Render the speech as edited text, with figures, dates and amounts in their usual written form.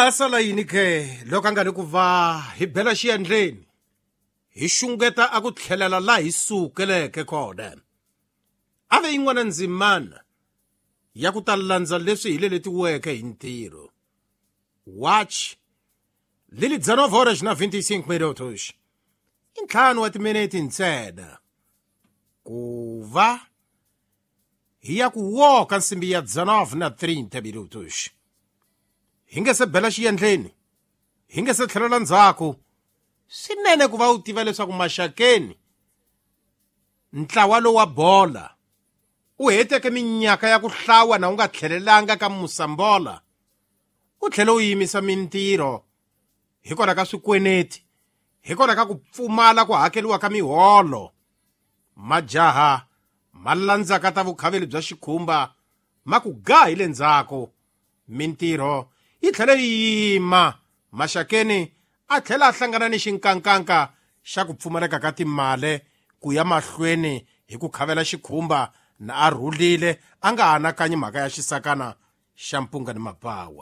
Ha sala yini ke loko a nga ni ku va hi bela xiyandleni hi xungeta a ku tlhelela laha hi sukeleke kona a ve yin'wana ndzimana ya ku ta landza leswi hi leletiweke hi ntirho watch lili 19 horas na 25 minutos i ntlhanu wa timinete ntsena ku va hi ya ku woka nsimbi ya 19 na 30 minutos hi nge se bela xiyendleni hi nge se tlhelela ndzhaku swinene ku va u tiva leswaku maxakeni ntlawa lowu wa bola u heteke minyaka ya ku hlawa na u nga tlhelelanga ka musambola u tlhele u yimisa mintirho hikwalaho ka swikweneti hikwalaho ka ku pfumala ku hakeriwa ka miholo majaha ma landzaka ta vukhaveli bya xikhumba ma ku ga hi le ndzhaku mintirho yi tlhele yi yima maxakeni a tlhela a hlangana ni xinkankanka xa ku pfumaleka ka timali ku ya mahlweni hi ku khavela xikhumba na a rhulile a nga anakanyi mhaka ya xisakana xa mpunga ni mapawa.